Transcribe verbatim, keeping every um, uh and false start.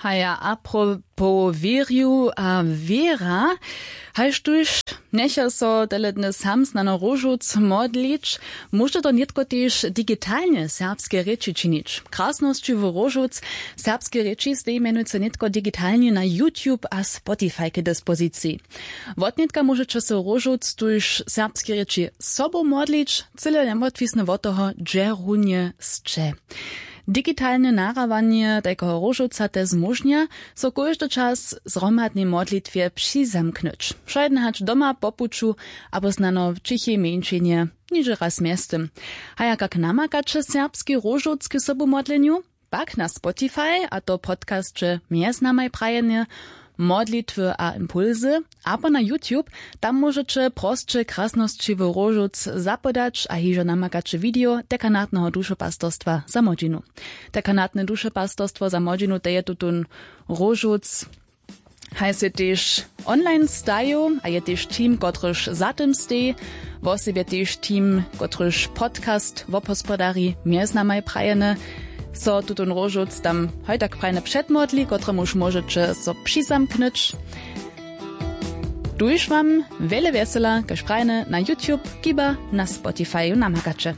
Haja, apropowo wěrju a wěra, haž tuž njecha so tele dny sam snano róžowc modlić, móže to nětko tež digitalnje serbske rěči činić. Krasnosći w róžowc serbske rěči steji mjenujcy nětko digitalnje na YouTube a Spotify k dispoziciji. Wotnětka móžeće so róžowc tuž serbske rěči sobu modlić, cyle njewotwisny wot toho, hdźe runje sće. Digitalne nahrabanje tajkeho róžowca te zmóžnja, so kóždy čas zhromadnej modlitwje přizamknyć, wšojden hač doma po puću abo snano w ćichej mjeńšinje, nižo raz mjeztym. Haja, kak namakaće serbski róžowc k sobumodlenju? Pak na Spotify, a to podcasće mjez namaj prajene, modlitwy a impulsy, abo na YouTube, tam móžeće prosće krasnosći w róžowc zapodać a hižo namakaće video dekanatneho dušepastorstwa za młodźinu. Dekanatne dušepastorstwo za młodźinu, to je tutón róžowc, haj sej tež online stajił a je tež team, kotryž za tym steji, wosebje tež team, kotryž podcast wobhospodari mjez namaj prajene, so tutón róžowc tam hoj tak prajne předmodli, kotremuž móžeće so přizamknyć. Tuž wam wjele wjesela, kaž prajne, na YouTube kiba na Spotifyu namakaće.